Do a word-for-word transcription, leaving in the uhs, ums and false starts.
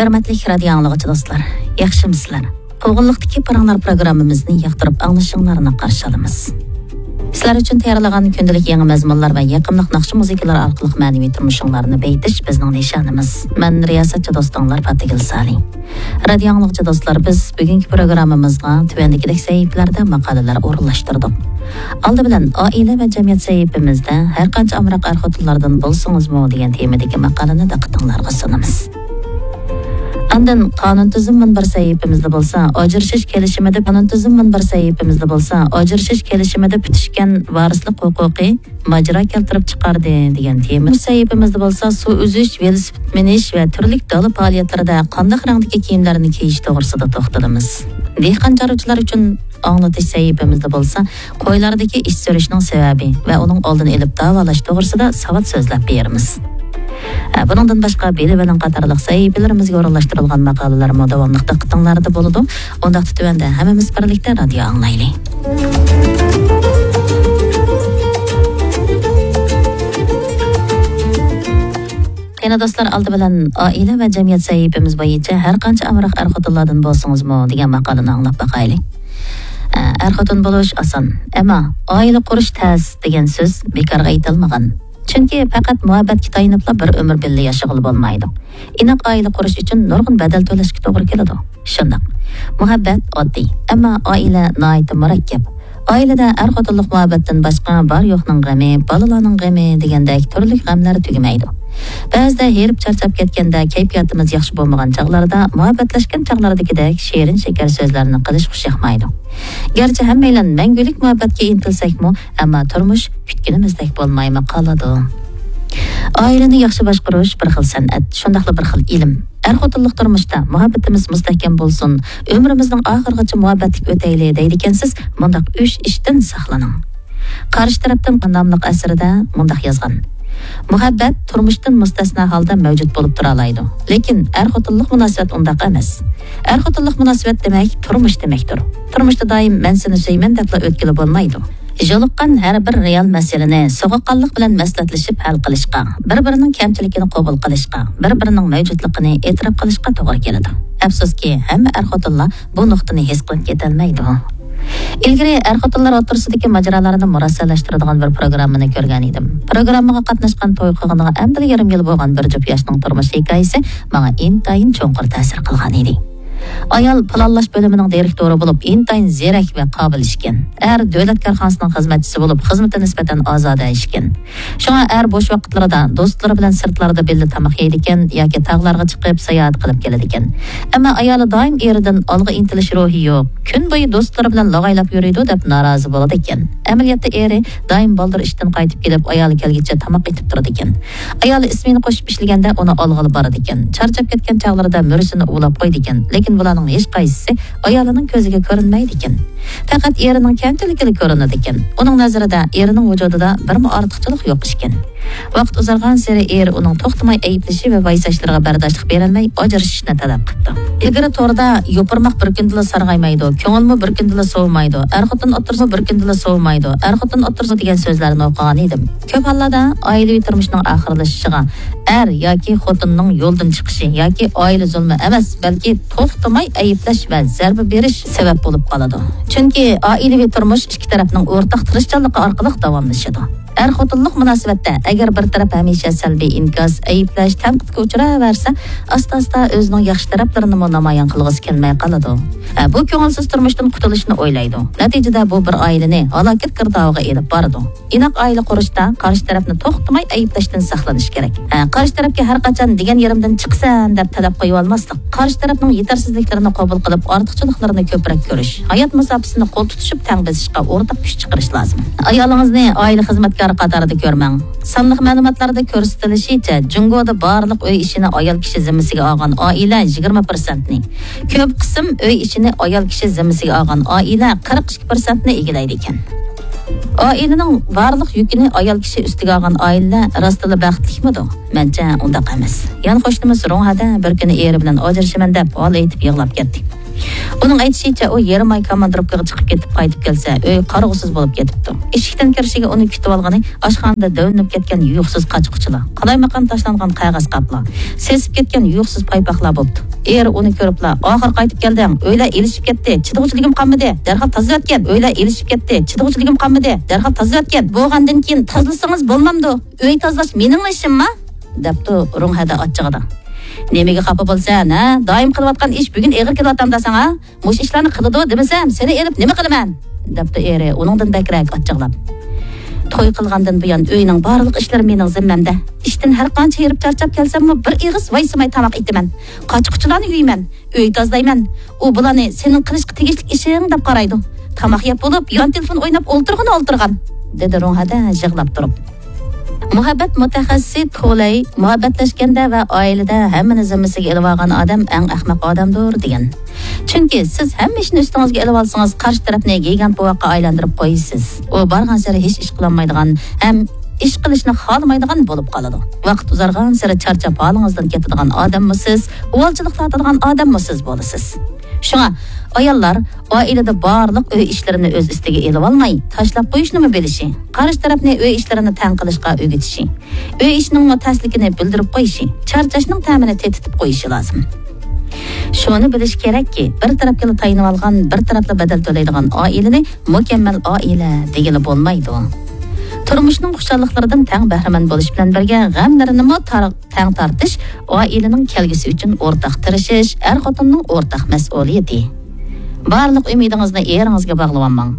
ھۆرمەتلىك رادىيو ئاڭلىغۇچى دوستلار، ياخشىمۇسىلەر؟ قوغۇنلۇقتىكى پاراڭلار پروگراممىمىزنى ياقتۇرۇپ ئاڭلىشىڭلارنى قارشى ئالىمىز. سىلەر ئۈچۈن تەييارلىغان كۈندىلىك يېڭى مەزمۇنلار ۋە يېقىملىق ناخشا مۇزىكىلار ئارقىلىق مەنىۋى تۇرمۇشۇڭلارنى بېيىتىش بىزنىڭ نىشانىمىز. مەن رىياسەتچى دوستۇڭلار پاتىگۈل سالى. رادىيو ئاڭلىغۇچى دوستلار، بىز بۈگۈنكى پروگراممىمىزغا تۆۋەندىكىدەك سەھىپىلەردە ماقالىلەر ئورۇنلاشتۇردۇق. ئالدى بىلەن ئائىلە ۋە جەمئىيەت سەھىپىمىزدە ھەر قانچە ئامراق ئەر-خوتۇنلاردىن بولسىڭىزمۇ دېگەن تېمىدىكى ماقالىنى دىققىتىڭلارغا سۇنىمىز. ئاندىن قانۇن تۈزۈم مۇنبەر سەھىپىمىزدە بولسا، ئاجرىشىش كېلىشىمىدە، قانۇن تۈزۈم مۇنبەر سەھىپىمىزدە بولسا، ئاجرىشىش كېلىشىمىدە پۈتۈشكەن ۋارىسلىق ھوقۇقى ماجىرا كەلتۈرۈپ چىقاردى دېگەن تېما. بۇ سەھىپىمىزدە بولسا سۇ ئۈزۈش، ۋېلىسىپىت مىنىش ۋە تۈرلۈك دالا پائالىيەتلىرىدە قانداق رەڭدىكى كىيىملەرنى كىيىش توغرىسىدا توختىلىمىز. دېھقان چارۋىچىلار ئۈچۈن ئاڭلىتىش سەھىپىمىزدە بولسا قويلاردىكى ئىچ سۈرۈشنىڭ سەۋەبى ۋە ئۇنىڭ ئالدىنى ئېلىپ داۋالاش توغرىسىدا ساۋات سۆزلەپ بېرىمىز. ئە، بۇنىڭدىن باشقا بىلىۋېلىڭ قاتارلىق سەھىپىلىرىمىزگە ئورۇنلاشتۇرۇلغان ماقالىلەرمۇ داۋاملىق دىققىتىڭلاردا بولىدۇ. ئۇنداقتا تۆۋەندە ھەممىمىز بىرلىكتە رادىيو ئاڭلايلى. قېنى دوستلار، ئالدى بىلەن ئائىلە ۋە جەمئىيەت سەھىپىمىز بويىچە ھەر قانچە ئامراق ئەر-خوتۇنلاردىن بولسىڭىزمۇ دېگەن ماقالىنى ئاڭلاپ باقايلى. ئە، ئەر-خوتۇن بولۇش ئاسان، ئەمما ئائىلە قۇرۇش تەس دېگەن سۆز بىكارغا ئېيتىلمىغان. چۈنكى پەقەت مۇھەببەتكە تايىنىپلا بىر ئۆمۈر بىللە ياشىغىلى بولمايدۇ. ئىناق ئائىلە قۇرۇش ئۈچۈن نۇرغۇن بەدەل تۆلەشكە توغرا كېلىدۇ. شۇنداق. مۇھەببەت ئاددىي، ئەمما ئائىلە ناھايىتى مۇرەككەپ. ئائىلىدە ئەر-خوتۇنلۇق مۇھەببەتتىن باشقا بار-يوقنىڭ غېمى، بالىلارنىڭ غېمى دېگەندەك تۈرلۈك غەملەر تۈگىمەيدۇ. بەزىدە ھېرىپ چارچاپ كەتكەندە، كەيپىياتىمىز ياخشى بولمىغان چاغلاردا مۇھەببەتلەشكەن چاغلاردىكىدەك شېرىن-شېكەر سۆزلەرنى قىلىش خۇش ياقمايدۇ. گەرچە ھەممەيلەن مەڭگۈلۈك مۇھەببەتكە ئىنتىلسەكمۇ، ئەمما تۇرمۇش كۈتكىنىمىزدەك بولمايمۇ قالىدۇ. ئائىلىنى ياخشى باشقۇرۇش بىر خىل سەنئەت، شۇنداقلا بىر خىل ئىلىم. ئەر-خوتۇنلۇق تۇرمۇشتا مۇھەببىتىمىز مۇستەھكەم بولسۇن، ئۆمرىمىزنىڭ ئاخىرىغىچە مۇھەببەتلىك ئۆتەيلى دەيدىكەنسىز، مۇنداق ئۈچ ئىشتىن ساقلىنىڭ. قارشى تەرەپتىن ناملىق ئەسىرىدە مۇنداق يازغان: مۇھەببەت تۇرمۇشتىن مۇستەسنا ھالدا مەۋجۇت بولۇپ تۇرالايدۇ، لېكىن ئەر-خوتۇنلۇق مۇناسىۋەت ئۇنداق ئەمەس. ئەر-خوتۇنلۇق مۇناسىۋەت دېمەك تۇرمۇش دېمەكتۇر. تۇرمۇشتا دائىم مەن سېنى سۆيىمەن دەپلا ئۆتكىلى بولمايدۇ. يولۇققان ھەر بىر رېئال مەسىلىنى سوغۇققانلىق بىلەن مەسلىھەتلىشىپ ھەل قىلىشقا، بىر-بىرىنىڭ كەمچىلىكىنى قوبۇل قىلىشقا، بىر-بىرىنىڭ مەۋجۇتلۇقىنى ئېتىراپ قىلىشقا توغرا كېلىدۇ. ئەپسۇسكى، ھەممە ئەر-خوتۇنلار بۇ نۇقتىنى ھېس قىلىپ كېتەلمەيدۇ. ئىلگىرى ئەر-خوتۇنلار ئوتتۇرىسىدىكى ماجىرالارنى مۇرەسسەلەشتۈرىدىغان بىر پروگراممىنى كۆرگەن ئىدىم. پروگراممىغا قاتناشقان، توي قىلغىنىغا ئەمدىلا يېرىم يىل بولغان بىر جۈپ ياشنىڭ تۇرمۇش ھېكايىسى ماڭا ئىنتايىن چوڭقۇر تەسىر قىلغان ئىدى. ئايال پىلانلاش بۆلۈمىنىڭ دىرېكتورى بولۇپ، ئىنتايىن زېرەك ۋە قابىل ئىشكەن. ئەر دۆلەت كارخانىسىنىڭ خىزمەتچىسى بولۇپ، خىزمىتى نىسبەتەن ئازادە ئىشكەن. شۇڭا ئەر بوش ۋاقىتلىرىدا دوستلىرى بىلەن سىرتلاردا بىللە تاماق يەيدىكەن ياكى تاغلارغا چىقىپ ساياھەت قىلىپ كېلىدىكەن. ئەمما ئايالى دائىم ئېرىدىن ئالغا ئىنتىلىش روھى يوق، كۈن بويى دوستلىرى بىلەن لاغايلاپ يۈرىدۇ دەپ نارازى بولىدىكەن. ئەمەلىيەتتە ئېرى دائىم بالدۇر ئىشتىن قايتىپ كېلىپ، ئايالى كەلگىچە تاماق ئېتىپ تۇرىدىكەن. ئايالى ئىسمېنا قوشۇپ ئىشلىگەندە ئۇنى ئالغىلى بارىدىكەن. چارچاپ كەتكەن چاغلىرىدا مۈرىسىنى ئۇۋىلاپ قويىدىكەن. لېكىن بۇلارنىڭ ھېچقايسىسى ئايالىنىڭ كۆزىگە كۆرۈنمەيدىكەن. پەقەت ئېرىنىڭ كەمچىلىكىلا كۆرۈنىدىكەن. ئۇنىڭ نەزىرىدە ئېرىنىڭ ۋۇجۇدىدا بىرمۇ ئارتۇقچىلىق يوق ئىكەن. ۋاقىت ئۇزارغانسېرى ئېرى ئۇنىڭ توختىماي ئەيىبلىشى ۋە ۋايساشلىرىغا بەرداشلىق بېرەلمەي ئاجرىشىشنى تەلەپ قىپتۇ. ئىلگىرى توردا «يوپۇرماق بىر كۈندىلا سارغايمايدۇ، كۆڭۈلمۇ بىر كۈندىلا سوۋۇمايدۇ، ئەر-خوتۇن ئوتتۇرىسىمۇ بىر كۈندىلا سوۋۇمايدۇ، ئەر-خوتۇن ئوتتۇرىسى» دېگەن سۆزلەرنى ئوقۇغان ئىدىم. كۆپ ھاللاردا ئائىلىۋى تۇرمۇشنىڭ ئاخىرلىشىشىغا ئەر ياكى خوتۇننىڭ يولدىن چىقىشى ياكى ئائىلە زۇلمى ئەمەس، بەلكى توختىماي ئەيىبلەش ۋە زەربە بېرىش سەۋەب بولۇپ قالىدۇ. چۈنكى ئائىلىۋى تۇرمۇش ئىككى تەرەپنىڭ ئورتاق تىرىشچانلىقى ئارقىلىق داۋاملىشىدۇ. ئەر-خوتۇنلۇق مۇناسىۋەتتە ئەگەر بىر تەرەپ ھەمىشە سەلبىي ئىنكاس، ئەيىبلەش، تەنقىدكە ئۇچراۋەرسە، ئاستا-ئاستا ئۆزىنىڭ ياخشى تەرەپلىرىنىمۇ نامايان قىلغۇسى كەلمەي قالىدۇ. ئە، بۇ كۆڭۈلسىز تۇرمۇشتىن قۇتۇلۇشنى ئويلايدۇ. نەتىجىدە بۇ بىر ئائىلىنى ھالاكەت گىردابىغا ئېلىپ بارىدۇ. ئىناق ئائىلە قۇرۇشتا قارشى تەرەپنى توختىماي ئەيىبلەشتىن ساقلىنىش كېرەك. ئە، قارشى تەرەپكە ھەر قاچان «دېگەن يېرىمدىن چىقىسەن» دەپ تەلەپ قويۇۋالماسلىق. قارشى تەرەپنىڭ يېتەرسىزلىكلىرىنى قوبۇل قىلىپ، ئارتۇقچىلىقلىرىنى كۆپرەك كۆرۈش. ھايات مۇساپىسىنى قول تۇتۇشۇپ تەڭ بېسىشقا ئورتاق كۈچ چىقىرىش لازىم. ئايالىڭىزنى ئائىلە خىزمەتكارى قاتارىدا كۆرمەڭ. سانلىق مەلۇماتلاردا كۆرسىتىلىشىچە، جۇڭگودا بارلىق ئۆي ئىشىنى ئايال كىشى زىممىسىگە ئالغان ئائىلە يىگىرمە پىرسەنتنى، كۆپ قىسىم ئۆي ئىشىنى ئايال كىشى زىممىسىگە ئالغان ئائىلە قىرىق ئىككى پىرسەنتنى ئىگىلەيدىكەن. ئائىلىنىڭ بارلىق يۈكىنى ئايال كىشى ئۈستىگە ئالغان ئائىلىلەر راستلا بەختلىكمىدۇ؟ مەنچە ئۇنداق ئەمەس. يەنە قوشنىمىز روڭھەدە بىر كۈنى ئېرى بىلەن ئاجرىشىمەن دەپ ھال ئېيتىپ يىغلاپ كەتتى. ئۇنىڭ ئېيتىشىچە، ئۇ يېرىم ئاي كاماندىروپكىغا چىقىپ كېتىپ قايتىپ كەلسە، ئۆي قارىغۇسىز بولۇپ كېتىپتۇ. ئىشىكتىن كىرىشىگە ئۇنى كۈتۈۋالغىنى ئاشخانىدا دۆۋىلىنىپ كەتكەن يۇيۇقسىز قاچا-قۇچىلار، قالايمىقان تاشلانغان قەغەز قاپلار، سېسىپ كەتكەن يۇيۇقسىز پايپاقلار بوپتۇ. ئېرى ئۇنى كۆرۈپلا، «ئاخىر قايتىپ كەلدىڭ، ئۆيلەر ئېلىشىپ كەتتى، چىدىغۇچىلىكىم قالمىدى، دەرھال تازىلىۋەتكىن، ئۆيلەر ئېلىشىپ كەتتى، چىدىغۇچىلىكىم قالمىدى، دەرھال تازىلىۋەتكىن، بولغاندىن كېيىن تازىلىسىڭىز بولمامدۇ؟ ئۆي تازىلاش مېنىڭلا ئىشىمما؟» دەپتۇ رۇڭھەدە ئاچچىقىدا. «نېمىگە خاپا بولىسەن، ھە؟ دائىم قىلىۋاتقان ئىش بۈگۈن ئېغىر كېلىۋاتامدا ساڭا؟ مۇشۇ ئىشلارنى قىلىدۇ دېمىسەم، سېنى ئېلىپ نېمە قىلىمەن؟» دەپتۇ ئېرى ئۇنىڭدىن بەكرەك ئاچچىقلاپ. «توي قىلغاندىن بۇيان ئۆينىڭ بارلىق ئىشلىرى مېنىڭ زىممەمدە. ئىشتىن ھەر قانچە ھېرىپ چارچاپ كەلسەممۇ بىر ئېغىز ۋايسىماي تاماق ئېتىمەن. قاچا-قۇچىلارنى يۇيىمەن، ئۆي تازىلايمەن. ئۇ بۇلارنى سېنىڭ قىلىشقا تېگىشلىك ئىشىڭ دەپ قارايدۇ. تاماق يەپ بولۇپ، يان تېلېفون ئويناپ ئولتۇرغىنى ئولتۇرغان»، دېدى رۇڭھەدە يىغلاپ تۇرۇپ. مۇھەببەت مۇتەخەسسىسى تولەي مۇھەببەتلەشكەندە ۋە ئائىلىدە ھەممىنى زىممىسىگە ئېلىۋالغان ئادەم ئەڭ ئەخمەق ئادەمدۇر دېگەن. چۈنكى سىز ھەممە ئىشنى ئۈستىڭىزگە ئېلىۋالسىڭىز، قارشى تەرەپنى گىگانت بوۋاققا ئايلاندۇرۇپ قويىسىز. ئۇ بارغانسېرى ھېچ ئىش قىلالمايدىغان ھەم ئىش قىلىشنى خالىمايدىغان بولۇپ قالىدۇ. ۋاقىت ئۇزارغانسېرى چارچاپ ھالىڭىزدىن كېتىدىغان ئادەممۇ سىز، ئۇۋالچىلىق تارتىدىغان ئادەممۇ سىز بولىسىز. شۇڭا ئاياللار ئائىلىدە بارلىق ئۆي ئىشلىرىنى ئۆز ئۈستىگە ئېلىۋالماي، تاشلاپ قويۇشنىمۇ بىلىشى، قارشى تەرەپنى ئۆي ئىشلىرىنى تەڭ قىلىشقا ئۆگىتىشى، ئۆي ئىشىنىڭمۇ تەسلىكىنى بىلدۈرۈپ قويۇشى، چارچاشنىڭ تەمىنى تېتىتىپ قويۇشى لازىم. شۇنى بىلىش كېرەككى، بىر تەرەپكىلا تايىنىۋالغان، بىر تەرەپلا بەدەل تۆلەيدىغان ئائىلىنى مۇكەممەل ئائىلە دېگىلى بولمايدۇ. تۇرمۇشنىڭ خۇشاللىقلىرىدىن تەڭ بەھرىمەن بولۇش بىلەن بىرگە، غەملىرىنىمۇ تار-، تەڭ تارتىش ئائىلىنىڭ كەلگۈسى ئۈچۈن ئورتاق تىرىشىش، ئەر-خوتۇننىڭ ئورتاق مەسئۇلىيىتى. بارلىق ئۈمىدىڭىزنى ئېرىڭىزگە باغلىۋالماڭ.